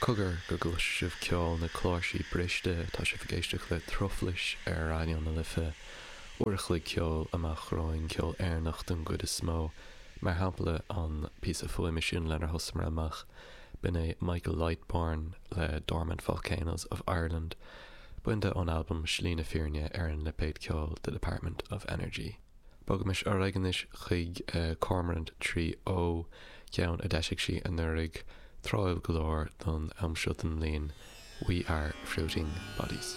Cogar go gcloisfidh sibh ceol na cláirsí briste, tá sibh ag éisteacht le Truflais ar Raidió na Life. Uair a chloig ceoil amach romhainn, ceol Éireannach den gcuid is mó. Mar shampla, an píosa fuaime sin lenar thosamar amach, b'in é Michael Lightbourne le Dormant Volcanoes of Ireland, bainte ón albam Slí na Fírinne ar an lipéad ceoil The Department of Energy. Bogaimis ar aghaidh anois chuig Cormorant 3O, ceann a d'eisigh sí anuraidh, tráthúil go leor don am seo den mbliain, We Are Fruiting Bodies.